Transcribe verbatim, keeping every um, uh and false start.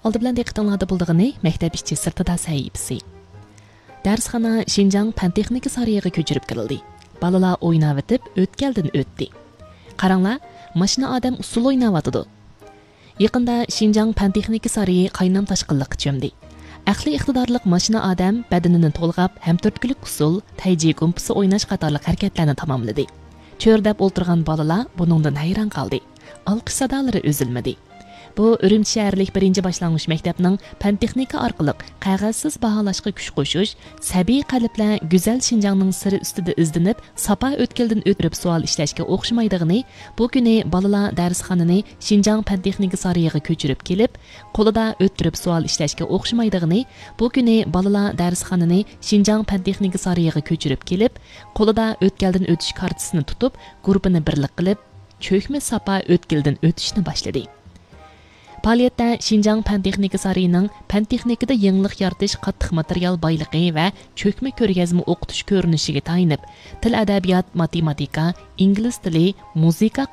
ئالدى بىلەن دىققىتىڭلاردا بولىدىغىنى مەكتەپ ئىچى سىرتىدا سەھىپىسى. دەرسخانا شىنجاڭ پەن تېخنىكا سارىيىغا كۆچۈرۈپ كىرىلدى. بالىلار ئويناۋېتىپ ئۆتكەلدىن ئۆتتى. قاراڭلار، ماشىنا ئادەم ئۇسسۇل ئويناۋاتىدۇ. يېقىندا شىنجاڭ پەن تېخنىكا سارىيى قاينام تاشقىنلىققا چۆمدى. ئەقلىي ئىقتىدارلىق ماشىنا ئادەم بەدىنىنى تولغاپ ھەم تۈرتكىلىك ئۇسسۇل، تەيجى گۇمپىسى ئويناش قاتارلىق ھەرىكەتلەرنى تاماملىدى. چۆرىدەپ ئولتۇرغان بالىلار بۇنىڭدىن ھەيران قالدى. ئالقىش سادالىرى ئۈزۈلمىدى. بۇ ئۈرۈمچى شەھەرلىك بىرىنچى باشلانغۇچ مەكتەپنىڭ پەن تېخنىكا ئارقىلىق قەغەزسىز باھالاشقا كۈچ قوشۇش، سەبىي قەلبلەر گۈزەل شىنجاڭنىڭ سىرى ئۈستىدە ئىزدىنىپ، ساپا ئۆتكىلىدىن ئۆتۈپ سوئال ئىشلەشكە ئوخشىمايدىغىنى، بۇ كۈنى بالىلار دەرسخانىنى شىنجاڭ پەن تېخنىكا سارىيىغا كۆچۈرۈپ كېلىپ، قولىدا ئۆتتۈرۈپ سوئال ئىشلەشكە ئوخشىمايدىغىنى، بۇ كۈنى بالىلار دەرسخانىنى شىنجاڭ پەن تېخنىكا سارىيىغا كۆچۈرۈپ كېلىپ، قولىدا ئۆتكەلدىن ئۆتۈش كارتىسىنى تۇتۇپ، گۇرۇپپىنى بىرلىك قىلىپ، چۆكمە ساپا ئۆتكىلىدىن ئۆتۈشنى باشلىدى. پائالىيەتتە شىنجاڭ پەن تېخنىكا سارىيىنىڭ پەن تېخنىكىدا يېڭىلىق يارىتىش قاتتىق ماتېرىيال بايلىقى ۋە چۆكمە كۆرگەزمە ئوقۇتۇش كۆرۈنۈشىگە تايىنىپ، تىل، ئەدەبىيات، ماتېماتىكا، ئىنگلىز تىلى، مۇزىكا